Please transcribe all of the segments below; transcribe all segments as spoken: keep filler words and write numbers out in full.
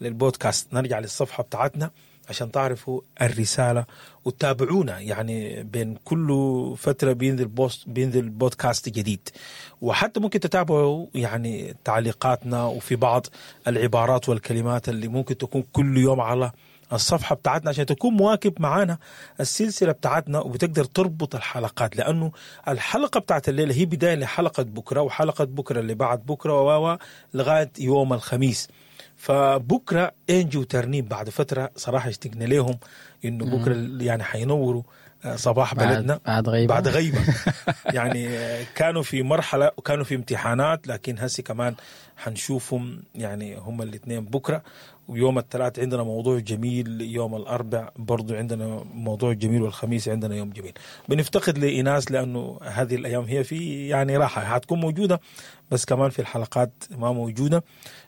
للبودكاست، نرجع للصفحة بتاعتنا عشان تعرفوا الرسالة وتتابعونا. يعني بين كل فترة بينزل post، بينزل بودكاست جديد، وحتى ممكن تتابعوا يعني تعليقاتنا وفي بعض العبارات والكلمات اللي ممكن تكون كل يوم على الصفحة بتاعتنا عشان تكون مواكب معانا السلسلة بتاعتنا وبتقدر تربط الحلقات، لأنه الحلقة بتاعت الليلة هي بداية لحلقة بكرة، وحلقة بكرة اللي بعد بكرة و لغاية يوم الخميس. فبكرة انجي وترنيم بعد فترة صراحة اشتقنا لهم انه بكرة يعني حينوروا صباح بلدنا بعد غيبة, بعد غيبة. يعني كانوا في مرحلة وكانوا في امتحانات، لكن هسي كمان حنشوفهم يعني هم الاثنين بكرة. ويوم الثلاث عندنا موضوع جميل، يوم الأربع برضو عندنا موضوع جميل، والخميس عندنا يوم جميل. بنفتقد لإناس لأنه هذه الأيام هي في يعني راحة، هتكون موجودة بس كمان في الحلقات ما موجودة.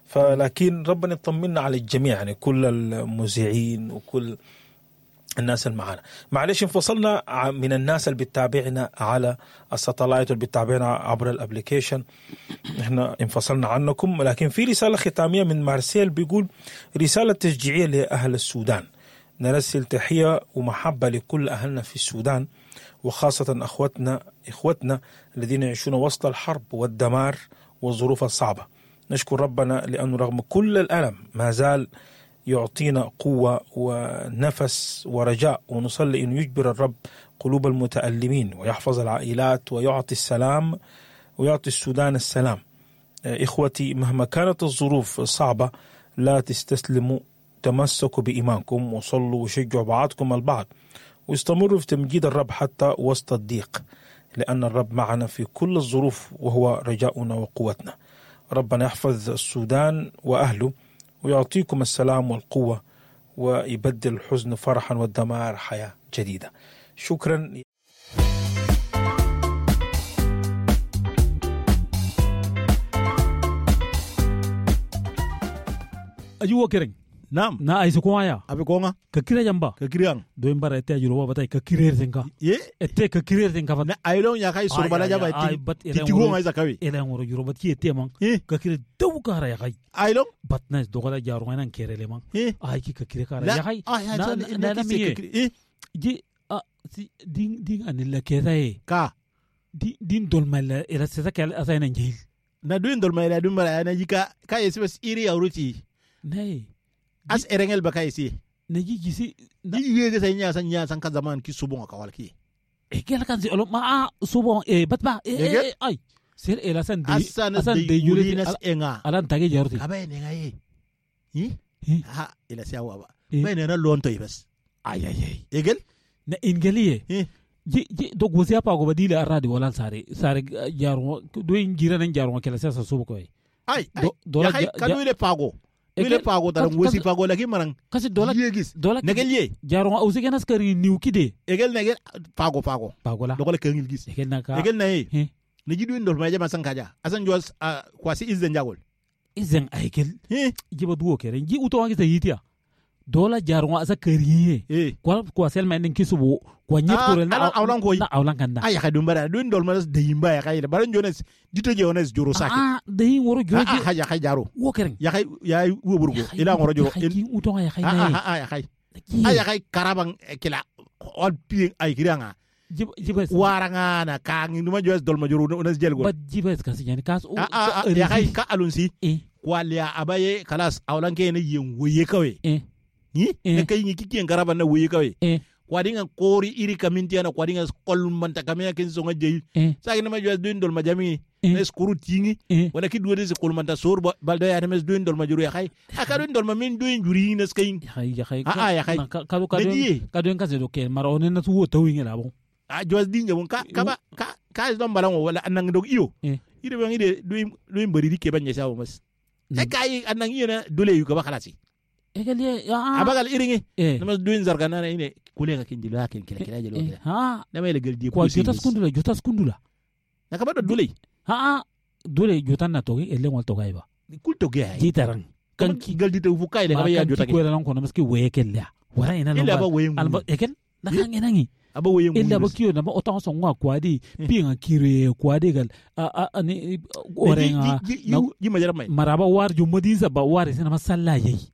فلكن ربنا يطمنا على الجميع، يعني كل المذيعين وكل الناس اللي معانا. معلش انفصلنا من الناس اللي بتتابعنا على ال satellite واللي بتتابعنا عبر ال application، احنا انفصلنا عنكم. لكن في رسالة ختامية من مارسيل بيقول رسالة تشجيعية لأهل السودان، نرسل تحية ومحبة لكل أهلنا في السودان، وخاصة أخوتنا إخوتنا الذين يعيشون وسط الحرب والدمار والظروف الصعبة. نشكر ربنا لأنه رغم كل الألم ما زال يعطينا قوة ونفس ورجاء، ونصلي أن يجبر الرب قلوب المتألمين ويحفظ العائلات ويعطي السلام ويعطي السودان السلام. إخوتي مهما كانت الظروف صعبة لا تستسلموا، تمسكوا بإيمانكم وصلوا وشجعوا بعضكم البعض، واستمروا في تمجيد الرب حتى وسط الضيق، لأن الرب معنا في كل الظروف وهو رجاؤنا وقوتنا. ربنا يحفظ السودان وأهله ويعطيكم السلام والقوة، ويبدل الحزن فرحا والدمار حياة جديدة. شكرا. أجوا كرين. نعم. نا أيسو كوايا. أبي كونغا. ككيرة جنبا. ككيران. دوين برا إتى جروبا بتاعي ككيرة تنكا. يه. إتى ككيرة تنكا فت. نا أيلون يا كاي سربالا جابا إتى. تيجوا ما إذا كوي. إلى أمور جروبا تي إتى مان. إيه. ككيرة دو كهرا يا كاي. أيلون. بطناس دوغلا جارونا كيرة لمان. إيه. آي كي ككيرة كهرا يا كاي. آه يا نا نا نا مية. إيه. جي آ دين دين أن لا كذا إيه. كا. دين دين دول مال إلى سيزا كلا أساينا نجيل. نا دوين دول مال دوين مال أنا جيكا كاي سبس إيري أوروتي. ناي. As erengel baka isi. Naji gisi. Ni yege sa nya sa nya san ka zaman ki subon ka wal ki. E gel kan si olo ma a subon e batba e e ay. Sir ela san de asan de yuri nas enga. Alan tage jarti. Aba ne nga ye. Hi? Ha ila sia wa ba. Ba ne na lonto bas. Ay ay ay. Egel? Na ingeliye. Ji ji dog wosia pa go badila aradi wala sare sare jaro do ingira nan jaro kala sa subo ko. Ay ay. Dola kanu ile pago. Ile pago dalam wesi pago lagi marang. Kasi dola yegis. Dola negel ye. Jaro ausi kenas kari niu kide. Egel negel pago pago. Pago la. Dola kengil gis. Egel naka. Egel na ye. Negi duin dol maja masan kaja. Asan juas kwasi izen jagol. Izen egel. Jiba duo kere. Ji uto wangi sayitia. Dola jaro asa kari ye. Kwa kwa sel mainin kisubo. Kwa nyet kore na awlan koy. Na awlan kanda. Ay ka dumbara duin dol manas deyimba ya kay. Baran jones dito je ones joro sake. Ah deyin woro joro. Ah ya kay jaro. Wo keren. Ya kay ya woburgo. Ila ngoro joro. Ki uto ya kay na. Ah ah ya kay. Ay ya kay karabang kila ol pi ay kiranga. Jibes. Waranga na kang numa jones dol ma joro ones jelgo. Bat jibes kasi yani kas. Ah ya kay ka alunsi. Kwalia abaye kalas awlan ke ne yen woye kawe. Eh. Ni ne kay ni kiki ngaraban na woye kawe. Kwadinga kori iri kaminti ana kwadinga kolmanta kamea kin songa jeyi saki na majwa duin dol majami na skuru tingi wala ki duwede se kolmanta sor balda ya mes duin dol majuru ya khay aka duin dol mamin duin juri na skayin ya khay a a ya khay ka ka ka duin ka se do ke mara onen na tuwo tawinga labo a jwas dinga bon ka ka ka ka is don balango wala anang dog iyo ire bang ide duin duin bari dike banya sawo mas e kai anang iyo na dole yu ka ba khalasi Egalie ya abagal iringi nama duin zargana na ine kulega kinjilo hakin kila kila jelo kila ha nama ile geldi kwa jota skundula jota skundula na kabado dole ha dole jota na togi ele ngol togai ba kul togi ay jitaran kan ki geldi te fukai le kaba ya jota ki kwela non kono maski wekella wara ina ila ba weyengu alba eken na kan ina ngi aba weyengu ila ba kiyo na ba otan so ngwa kwadi pinga kire kwadi gal a a ni orenga ji majara mai maraba war jumadin ba war sina masalla yayi